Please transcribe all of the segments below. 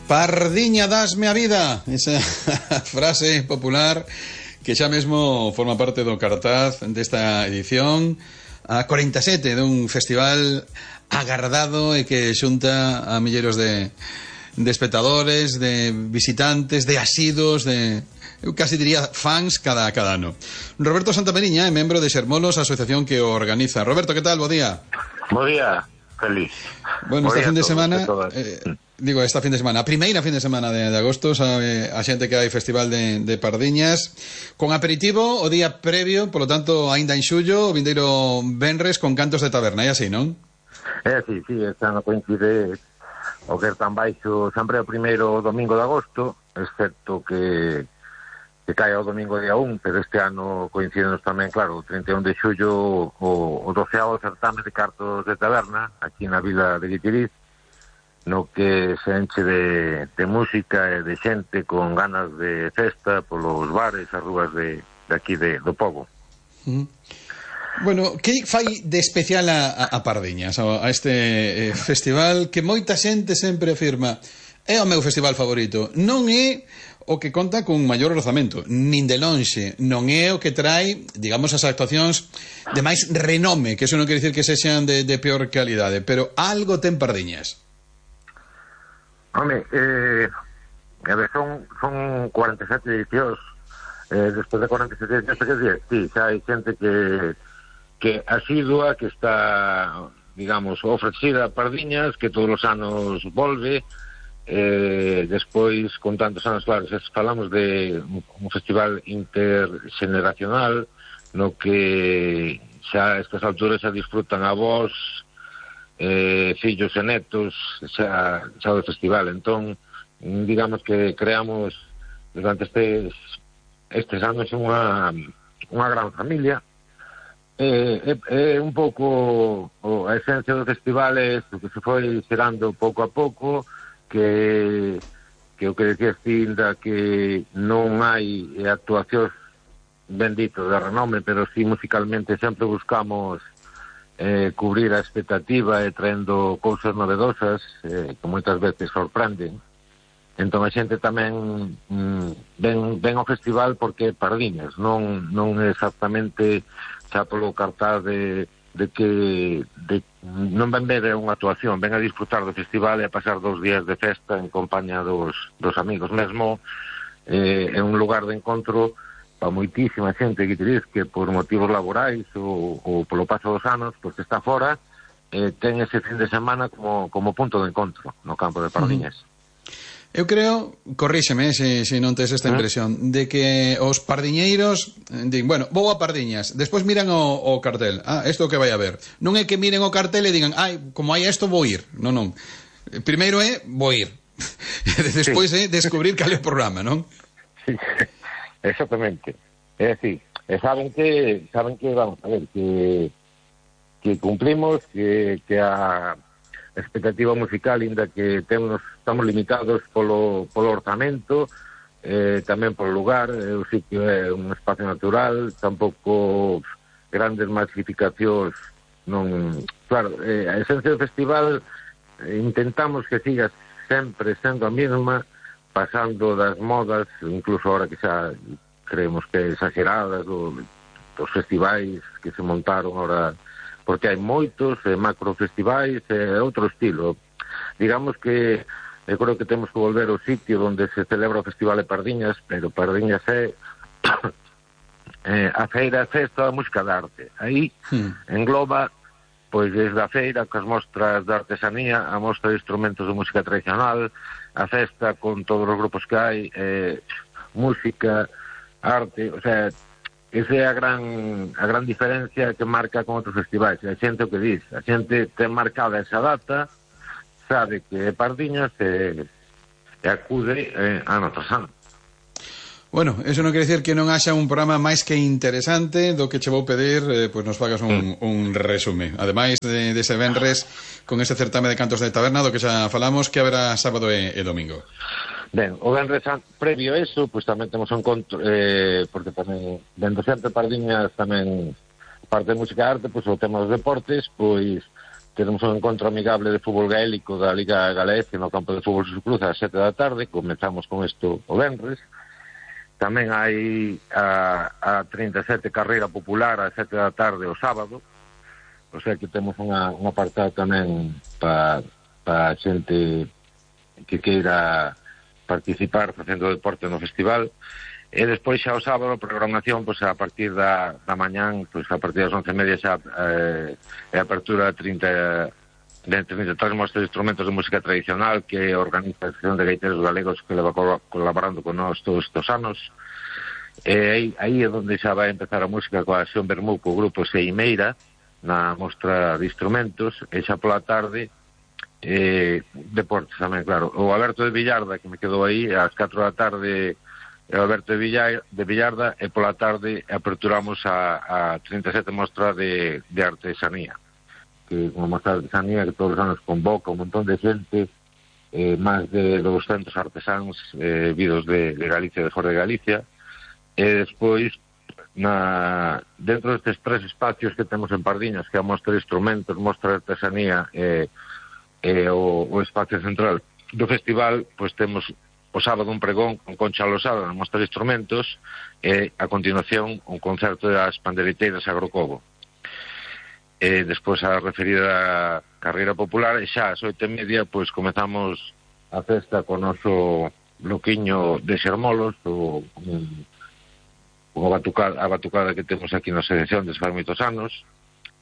Pardiña, dasme a vida. Esa frase popular que xa mesmo forma parte do cartaz desta edición a 47 dun festival agardado e que xunta a milleiros de espectadores, de visitantes, de asidos, eu casi diría fans cada ano. Roberto Santamariña é membro de Xermolos, a asociación que o organiza. Roberto, que tal? Bo día. Bo día, feliz. Bueno, esta fin de semana, esta fin de semana, a primeira fin de semana de agosto, sabe a xente que hai festival de Pardiñas, con aperitivo o día previo, polo tanto, aínda en xullo, o vindeiro venres con cantos de taberna, e así, non? Sí, este ano coincide o que é tan baixo sempre o primeiro domingo de agosto, excepto que cae o domingo día 1, pero este ano coincidenos tamén, claro, o 31 de xullo o 12º certame de cartos de taberna aquí na vila de Guitiriz, no que se enche de música e de xente con ganas de festa polos bares, as rúas de aquí do pobo. Bueno, que fai de especial a Pardiñas, a este festival que moita xente sempre afirma é o meu festival favorito? Non é o que conta con maior orzamento, nin de lonxe, non é o que trae, digamos, as actuacións de máis renome, que eso non quere dicir que sexan de peor calidade, pero algo ten Pardiñas. Home, son 47 edicións, despois de 47 edicións, sí, xa hai xente que asidua, que está, digamos, ofrecida a Pardiñas, que todos os anos volve, despois, con tantos anos, claro, falamos de un festival intergeneracional, no que xa a estas alturas xa disfrutan avós, fillos e netos xa do festival. Entón, digamos que creamos durante estes anos unha gran familia. É un pouco a esencia do festival é isto, que se foi xerando pouco a pouco, que o que decías ti, que non hai actuacións bendito de renome, pero sí musicalmente sempre buscamos cubrir a expectativa e traendo cousas novedosas que moitas veces sorprenden. Entón a xente tamén ven ao festival porque Pardiñas, non é exactamente xa polo cartaz de que non ven ver unha actuación, ven a disfrutar do festival e a pasar 2 días de festa en compañía dos amigos. Mesmo é un lugar de encontro para moitísima xente que por motivos laborais ou polo paso dos anos, pois que está fora, ten ese fin de semana como punto de encontro no campo de Pardiñas. Eu creo, corríxeme se non tes esta impresión, de que os pardiñeiros din, bueno, vou a Pardiñas, despois miran o cartel, isto que vai a ver. Non é que miren o cartel e digan, como hai isto vou ir. Non. Primeiro é vou ir. Despois é descubrir cal é o programa, non? Sí. Exactamente. É así. E saben que vamos a ver, que cumplimos, que a expectativa musical, inda que estamos limitados polo orzamento, tamén polo lugar, o sitio é un espacio natural, tampouco grandes masificacións, non. Claro, a esencia do festival intentamos que siga sempre sendo a mesma, pasando das modas, incluso ahora que xa creemos que exageradas dos festivais que se montaron ahora, porque hai moitos macrofestivais e outro estilo. Digamos que eu creo que temos que volver ao sitio onde se celebra o Festival de Pardiñas, pero Pardiñas é a feira, a festa da música de arte. Aí engloba pois desde a feira, coas mostras de artesanía, a mostra de instrumentos de música tradicional, a festa con todos os grupos que hai, música, arte, o sea, esa é a gran diferencia que marca con outros festivais. A xente o que diz, a xente ten marcada esa data, sabe que é Pardiñas e acude ano tras ano. Bueno, eso non quere dicir que non haxa un programa máis que interesante do que che vou pedir, pois nos fagas un resume. Ademais dese venres con ese certame de cantos de taberna do que xa falamos, que haberá sábado e domingo. Ben, o venres previo a eso, pois tamén temos un encontro, porque tamén dentro sempre Pardiñas tamén parte de música e arte, pois o tema dos deportes, pois teremos un encontro amigable de fútbol gaélico da Liga Galega no campo de fútbol Suscruz ás 7 da tarde. Comezamos con isto o venres. Tamén hai a 37 carreira popular ás 7 da tarde o sábado. O sea que temos un apartado tamén para xente que queira participar facendo deporte no festival. E despois xa o sábado a programación, pois a partir da mañán, pois a partir das 11:30 xa é a apertura de 33 mostras de instrumentos de música tradicional que organiza a Asociación de Gaiteros Galegos, que leva colaborando con nós todos estes anos. E aí é onde xa vai empezar a música coa Xón Bermú, co grupo Seimeira, na mostra de instrumentos, e xa pola tarde deportes tamén, claro. O Alberto de Villarda, que me quedou aí, ás 4 da tarde o Alberto de Villarda, e pola tarde aperturamos a 37 mostra de artesanía, que unha mostra de artesanía que todos os anos convoca un montón de xente, máis de 200 artesáns vidos de Galicia e de fora de Galicia. E despois dentro destes tres espacios que temos en Pardiñas, que é a mostra de instrumentos, mostra de artesanía e o espacio central do festival, pois temos o sábado un pregón con Concha Losada na mostra de instrumentos e a continuación un concerto das pandereteiras Agrocobo. E despois a referida carreira popular, e xa ás 8:30 pois comezamos a festa con o noso bloquiño de xermolos, a batucada que temos aquí na selección desde fai moitos anos.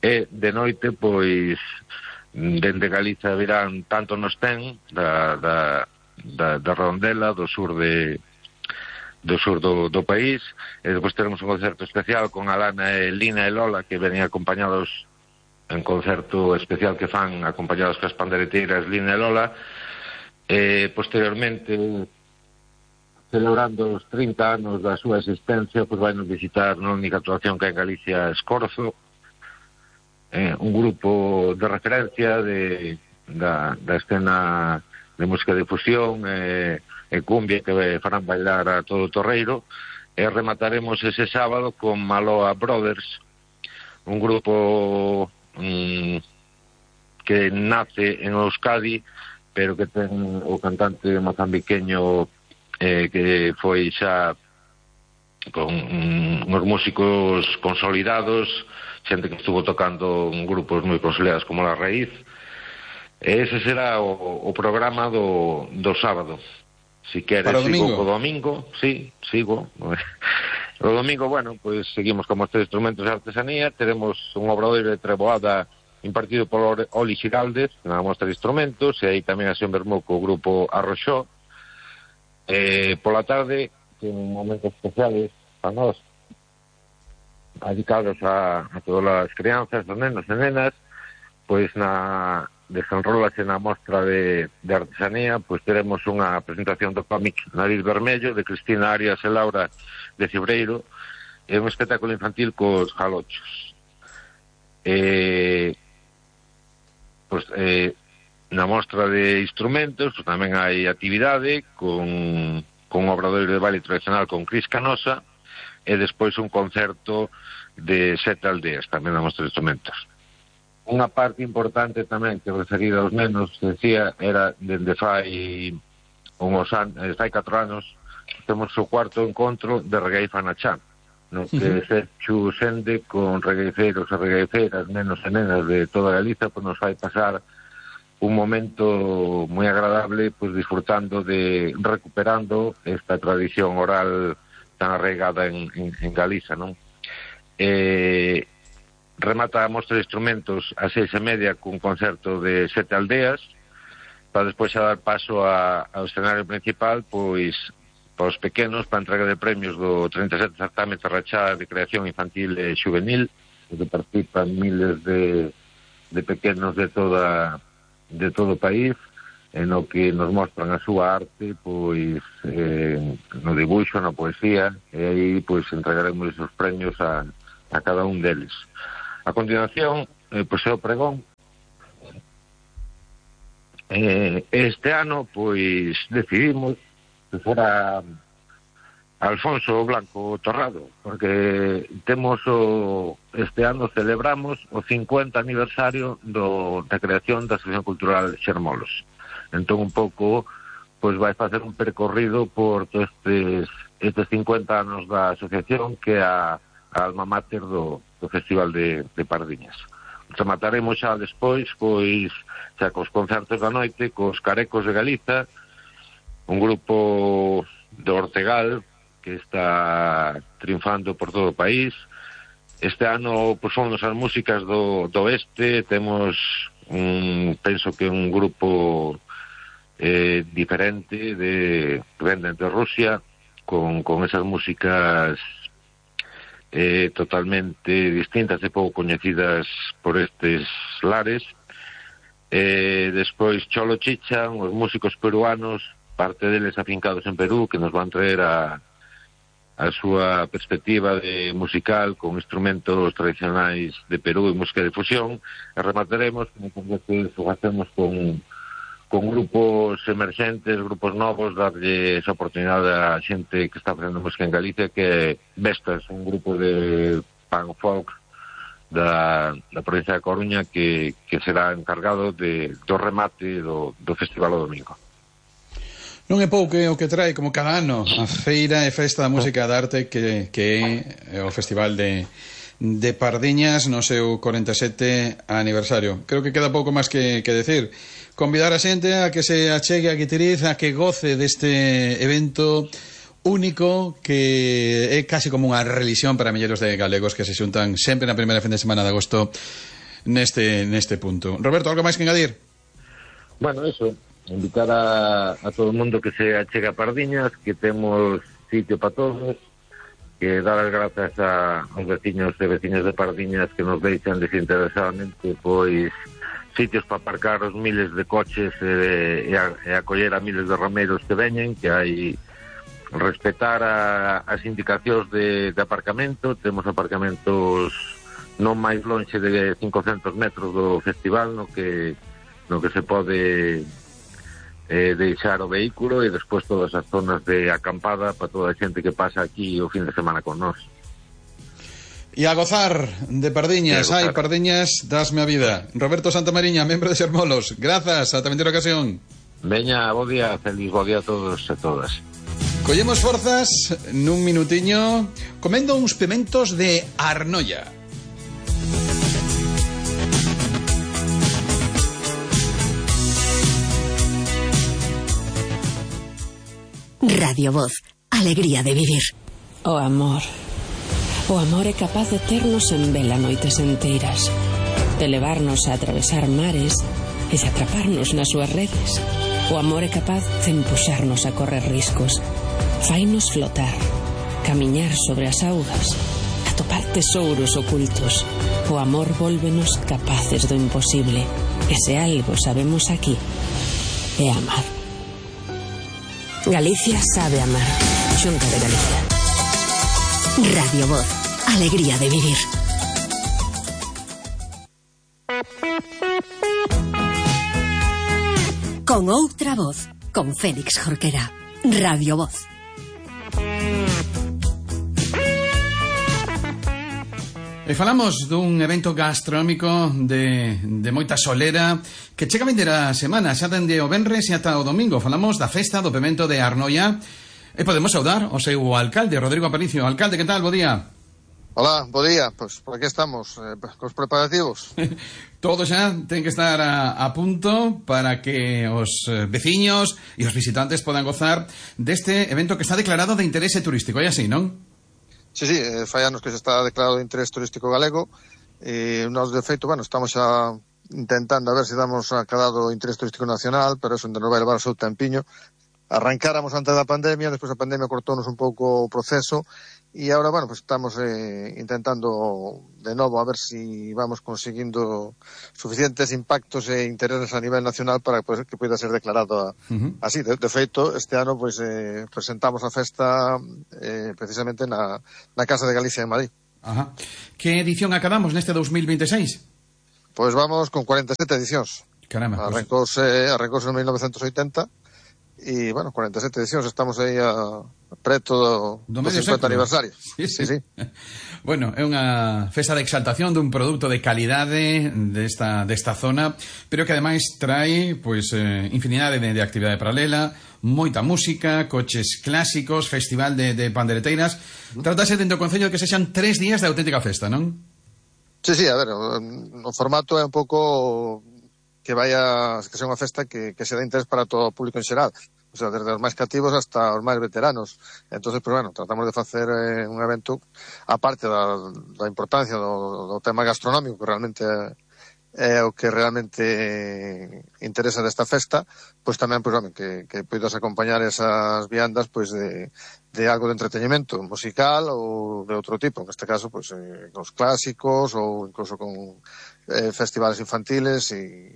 E de noite pois dende Galiza virán Tanto Nos Ten da Rondela do sur do país, e depois teremos un concerto especial con Alana e Lina e Lola, que venen acompañados en concerto especial que fan acompañados cas pandereteiras Lina e Lola. E posteriormente, celebrando os 30 anos da súa existencia, pois vai nos visitar na única actuación que hai en Galicia, Escorzo, un grupo de referencia da escena de música de fusión e cumbia que farán bailar a todo o torreiro. E remataremos ese sábado con Maloa Brothers, un grupo que nace en Euskadi, pero que ten o cantante mozambiqueño que foi xa con uns músicos consolidados, xente que estuvo tocando en grupos moi consolidados como La Raíz. Ese será o programa do sábado. Si queres, sigo co domingo. Sí, sigo. O domingo, bueno, pues seguimos con mostra de instrumentos de artesanía. Teremos un obradoiro de treboada impartido por Oli Xiraldes na mostra de instrumentos, e aí tamén a Xón Bermú co grupo Arroxó. Pola tarde, ten momentos especiales para nós, dedicados a todas as crianzas, os nenos e nenas. Pois desenrólase na mostra de artesanía, pois teremos unha presentación do cómic Nariz Vermello, de Cristina Arias e Laura de Cibreiro, e un espectáculo infantil cos jalochos. Pois, na mostra de instrumentos, pois tamén hai actividade con un obradoiro de baile tradicional con Cris Canosa, e despois un concerto de 7 aldeas, tamén na mostra de instrumentos. Unha parte importante tamén que referida aos nenos, decía, era dende fai 4 anos temos o cuarto encontro de Reggae Fanachán, no que se xende con regueiceiros e regueiceiras, nenos e nenas de toda Galiza, pois nos vai pasar un momento moi agradable, pois disfrutando recuperando esta tradición oral tan arraigada en Galiza, non? Remata a mostra de instrumentos a 6:30 cun concerto de 7 aldeas, para despois a dar paso ao escenario principal, pois para os pequenos, para a entrega de premios do 37 certame Tarrachá de creación infantil e juvenil, onde participan miles de pequenos de todo o país, en o que nos mostran a súa arte, pois no dibuixo, na poesía, e aí pois entregaremos os premios a cada un deles. A continuación, pois é o pregón. Este ano, pois, decidimos que fora Alfonso Blanco Torrado, porque este ano celebramos o 50 aniversario da creación da Asociación Cultural Xermolos. Entón, un pouco, pois vai facer un percorrido por estes 50 anos da asociación, que é a alma mater do Festival de Pardiñas. Remataremos xa despois, pois, xa cos concertos da noite, cos Carecos de Galiza, un grupo de Ortegal, que está triunfando por todo o país. Este ano, pois, son as músicas do oeste. Temos penso que un grupo diferente que venden de Rusia, con esas músicas totalmente distintas e pouco coñecidas por estes lares. Despois Cholo Chichan, os músicos peruanos, parte deles afincados en Perú, que nos van traer a súa perspectiva musical con instrumentos tradicionais de Perú e música de fusión. E remataremos, como o facemos con grupos emerxentes, grupos novos, darlle esa oportunidade a xente que está facendo música en Galicia, que é Vestas, un grupo de punk folk da provincia de Coruña, que será encargado do remate do festival o domingo. Non é pouco o que trae, como cada ano, a Feira e Festa da Música da Arte, que é o Festival de Pardiñas no seu 47 aniversario. Creo que queda pouco máis que decir. Convidar a xente a que se achegue a Guitiriz, a que goce deste evento único, que é casi como unha religión para milleiros de galegos que se xuntan sempre na primeira fin de semana de agosto neste punto. Roberto, algo máis que engadir? Bueno, eso, invitar a todo o mundo que se achegue a Pardiñas, que temos sitio para todos, que dar as grazas aos veciños e veciñas de Pardiñas que nos deixan desinteresadamente, pois, sitios para aparcar os miles de coches e acoller a miles de romeros que veñen, que hai respetar as indicacións de aparcamento. Temos aparcamentos non máis lonxe de 500 metros do festival, no que se pode deixar o vehículo, e despois todas as zonas de acampada para toda a xente que pasa aquí o fin de semana con nós. E a gozar de Pardiñas. Ai, Pardiñas, dasme a vida. Roberto Santamariña, membro de Xermolos, grazas, ata vindeira ocasión. Veña, bo día, feliz bo día a todos e todas. Collemos forzas nun minutiño comendo uns pimentos de Arnoia. Radio Voz, alegría de vivir. O amor é capaz de ternos en vela noites enteiras, de levarnos a atravesar mares e de atraparnos nas súas redes. O amor é capaz de empuxarnos a correr riscos, fainos flotar, camiñar sobre as augas, atopar tesouros ocultos. O amor vólvenos capaces do imposible, e se algo sabemos aquí é amar. Galicia sabe amar. Xunta de Galicia. Radio Voz, alegría de vivir. Con outra voz, con Félix Jorquera. Radio Voz. E falamos dun evento gastronómico de moita solera que chega a vindeira semana, xa dende o venres e ata o domingo. Falamos da festa do pemento de Arnoia e podemos saudar o seu alcalde, Rodrigo Aparicio. Alcalde, que tal? Bo día. Hola, bo día. Pois por aquí estamos, cos preparativos. Todo xa ten que estar a punto para que os veciños e os visitantes podan gozar deste evento que está declarado de interese turístico. É así, non? Sí, fai anos que se está declarado de interés turístico galego e nós, de feito, estamos xa intentando a ver se damos aclarado o interés turístico nacional, pero eso non vai levar o seu tempiño. Arrancáramos antes da pandemia, despois a pandemia cortounos un pouco o proceso e agora, estamos intentando de novo a ver se vamos conseguindo suficientes impactos e intereses a nivel nacional para que poida ser declarado así. De feito, este ano presentamos a festa precisamente na Casa de Galicia en Madrid. Ajá. Que edición acabamos neste 2026? Pois vamos con 47 edicións. Caramba. Arrancouse en 1980 e, 47 edicións. Estamos aí preto do medio 50 século. aniversario. Sí. Bueno, é unha festa de exaltación dun produto de calidade desta zona, pero que ademais trae pois infinidade de actividade paralela, moita música, coches clásicos, festival de pandereteiras. Tratase dentro do Concello de que sexan 3 días de auténtica festa, non? Sí, a ver, o formato é un pouco que sea unha festa que se dá interés para todo o público en xeral. O sea, desde os máis cativos hasta os máis veteranos. Entonces, pues bueno, tratamos de facer un evento, aparte da importancia do tema gastronómico, que realmente é o que realmente interesa desta festa, pois tamén, pois, que poidas acompañar esas viandas, pois, de algo de entretenimento musical ou de outro tipo, en este caso, pois, os clásicos ou incluso con festivales infantiles e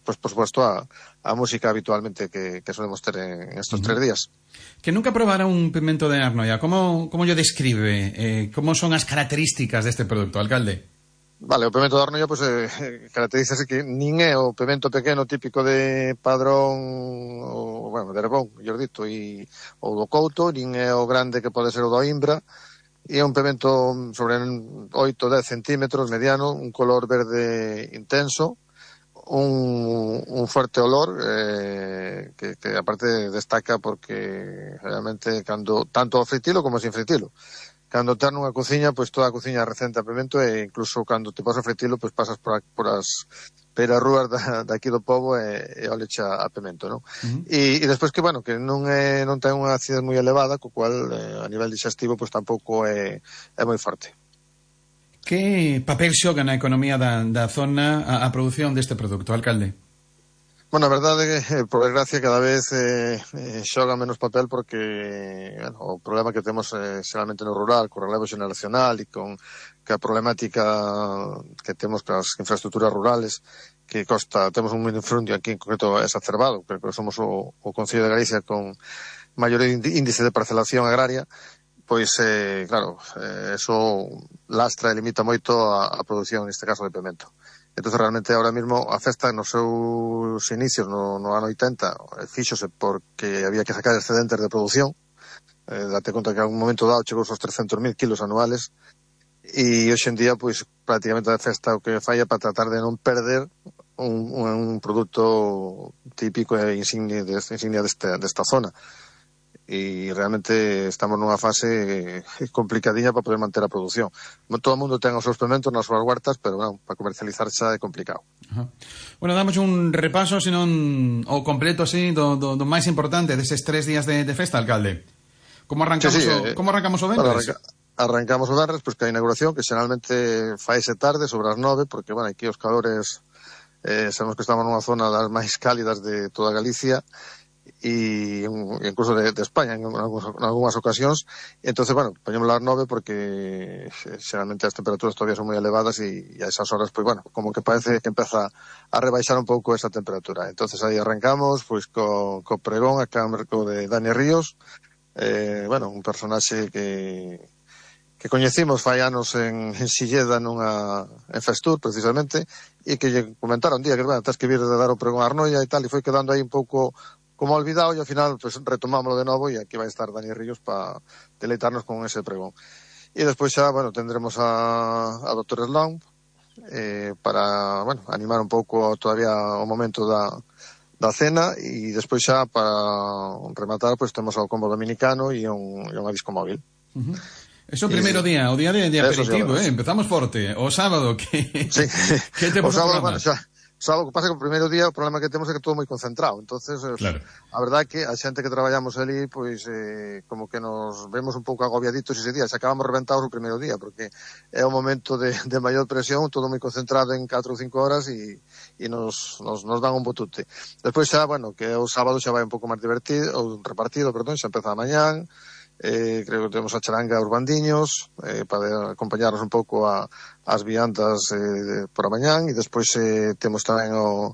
pues, por supuesto, a música habitualmente que solemos ter en estos 3 días. Que nunca probara un pimento de Arnoia, como yo describe? Como son as características deste produto, alcalde? Vale, o pimento de Arnoia, pues, caracterízase que nin é o pimento pequeno típico de Padrón ou, bueno, de Herbón, mellor dito, ou do Couto, nin é o grande que pode ser o do Imbra, e é un pimento sobre 8-10 centímetros, mediano, un color verde intenso, un fuerte olor que aparte destaca porque realmente tanto ao fritilo como sin fritilo. Cando ter nunha cociña, pois toda a cociña recente a pimento e incluso cando te pasas a fritilo, pois pasas por as perarrúas daqui do pobo e olecha a pimento, non? E despois que, bueno, que non ten unha acidez moi elevada, co cual a nivel digestivo pois tampouco é moi forte. Que papel xoga na economía da zona a produción deste produto, alcalde? Bueno, a verdade é que, por desgracia, cada vez xoga menos papel porque, bueno, o problema que temos xeralmente no rural, co relevo xeneracional e con a problemática que temos as infraestructuras rurales, que temos un minifrundio aquí en concreto exacerbado, pero somos o Concello de Galicia con maior índice de parcelación agraria, pois, claro, eso lastra e limita moito a produción, neste caso, de pimento. Entonces, realmente, ahora mismo, a festa, nos seus inicios, no ano 80, fíxose porque había que sacar excedentes de produción. Date conta que a un momento dado chegou aos 300.000 kilos anuales, e hoxe en día, pois, prácticamente a festa o que falla para tratar de non perder un produto típico e insignia desta zona. E realmente estamos nunha fase complicadiña para poder manter a produción. Todo o mundo ten os seus pimentos nas súas huertas, pero non, para comercializar xa é complicado. Bueno, damos un repaso, senón o completo, así, do máis importante deses 3 días de festa, alcalde. Como arrancamos o venres? Arrancamos o venres, pois que a inauguración, que xeralmente faise tarde, sobre as 9, porque, bueno, aquí os calores, sabemos que estamos nunha zona das máis cálidas de toda Galicia, e incluso de España en algunhas ocasións. Entonces, bueno, poñemos las 9 porque xeralmente as temperaturas todavía son moi elevadas e a esas horas, pues bueno, como que parece que empeza a rebaixar un pouco esa temperatura. Entonces aí arrancamos pois co pregón a cargo de Dani Ríos, bueno, un personaxe que coñecimos fai anos en Silleda en Festur, precisamente, e que lle comentaron un día que, bueno, tens que vir de dar o pregón a Arnoia e tal, e foi quedando aí un pouco como olvidado, e ao final pues, retomámoslo de novo, e aquí vai estar Dani Ríos para deleitarnos con ese pregón. E despois xa, bueno, tendremos a Dr. Sloan para, bueno, animar un pouco todavía o momento da cena, e despois xa para rematar, pues temos o combo dominicano e unha disco móvil. Eso o primeiro día, o día de aperitivo, empezamos forte. O sábado, que te pasa o programa? Sábado, que pasa que o primeiro día o problema que temos é que todo moi concentrado, entonces claro. A verdade é que a xente que traballamos ali, pois como que nos vemos un pouco agobiaditos ese día, xa acabamos reventados o primeiro día, porque é un momento de maior presión, todo moi concentrado en 4 ou 5 horas e nos dan un botute. Despois xa, bueno, que o sábado xa vai un pouco máis divertido, ou repartido, perdón, xa empeza a mañán. Creo que temos a charanga aos bandiños para acompañarnos un pouco as viandas por a mañán, e despois temos tamén a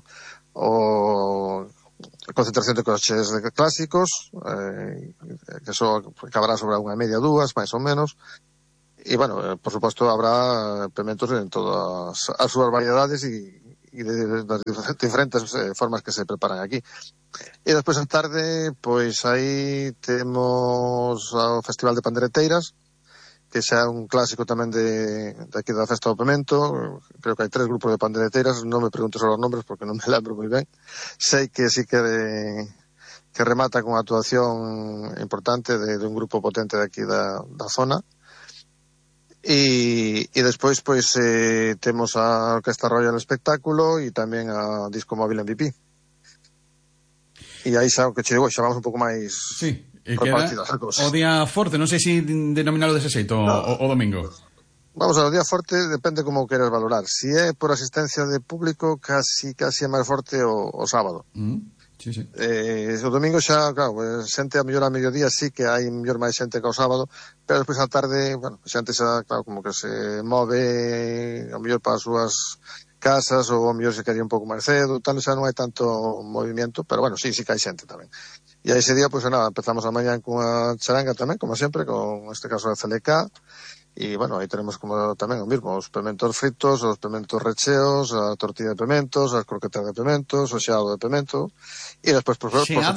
concentración de coches clásicos, que só acabará sobre unha media, 2, máis ou menos, e, bueno, por suposto, habrá pimentos en todas as súas variedades e de das diferentes formas que se preparan aquí. E despois a tarde, pois aí temos o Festival de Pandereteiras, que xa é un clásico tamén de aquí da Festa do Pemento. Creo que hai 3 grupos de pandereteiras, non me preguntes os nombres porque non me lembro moi ben. Sei que sí que remata con actuación importante de un grupo potente de aquí da zona. E despois pois temos a Orquesta Royal Espectáculo e tamén a Disco Móvil MVP. E aí xa o que che digo, xa vamos un pouco máis... Sí. E queda o día forte, non sei se denominalo dese xeito, o domingo. Vamos a ver, o día forte depende como queres valorar. Si é por asistencia de público, casi é máis forte o sábado. Sí, sí. O domingo xa, claro, xente a mellor a mediodía sí que hai mellor máis xente que o sábado, pero despois a tarde, bueno, xente xa, claro, como que se move a mellor para as súas casas ou a mellor se quería un pouco máis cedo, tal, xa non hai tanto movimento, pero bueno, sí que hai xente tamén. E aí ese día, pois nada, empezamos a mañán cunha charanga tamén, como sempre, con este caso a CLK, e bueno, aí tenemos como tamén o mismo, os pementos fritos, os pementos recheos, a tortilla de pementos, as croquetas de pementos, o xeado de pemento, e despois, por suposto... Xeado